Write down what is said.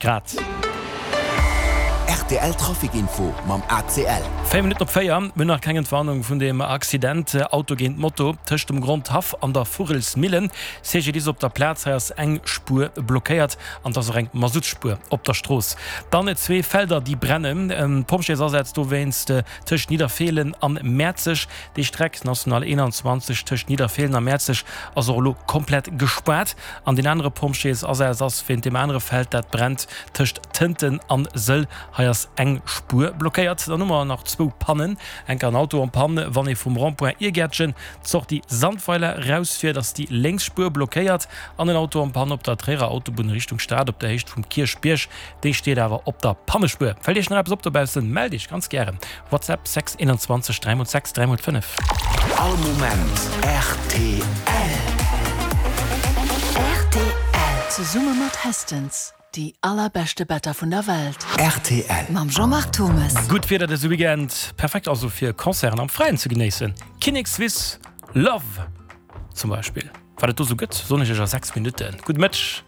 Grad. Rtl Trafic Info mam ACL. 4 Minutten op 4, Mir hunn nach keng Entwarnung vun deem Accident, Auto géint Moto, tëscht dem Grondhaff an der Vugelsmillen. CGDIS op der Plaz, hei ass eng Spuer blockéiert an et ass och eng Masuttspuer op der Strooss. Dann zwee Felder déi brennen, Pompjeesasätz dowéinst tëscht Nidderfeelen an Mäerzeg. Déi Streck, National 21, tëscht Nidderfeelen a Mäerzeg ass och elo komplett gespaart. An deen anere Pompjeesasaz ass wéint deem anere Feld, dat brennt tëscht Tënten an Sëll. Hei ass eng Spuer blockéiert. Dann hu mer nach zwou Pannen. Enker en Auto en panne, wann ee vum Rond-point Irgäertchen d'Sortie Sandweiler rausfiert, ass déi lénks Spuer blockéiert. An en Auto en panne op der Tréierer Autobunn Richtung Stad op der Héicht vum Kierchbierg. Déi steet awer op der Pannespuer. Fält Iech nach eppes op dobaussen, mellt Iech ganz gären. WhatsApp 6 21 3 x 6 3 x 5. All Moment rtl. Rtl. Zesumme mat Hestons, déi allerbeschte Better vun der Welt. Rtl. Mam Jean-Marc Thomes. Gutt Wieder dëse Weekend, perfekt also fir Concerten am Fräien ze genéissen. Kinnekswiss Love zum Beispill. Wat et do sou gëtt, soen ech iech a 6 Minutten. Gudde Mëtteg.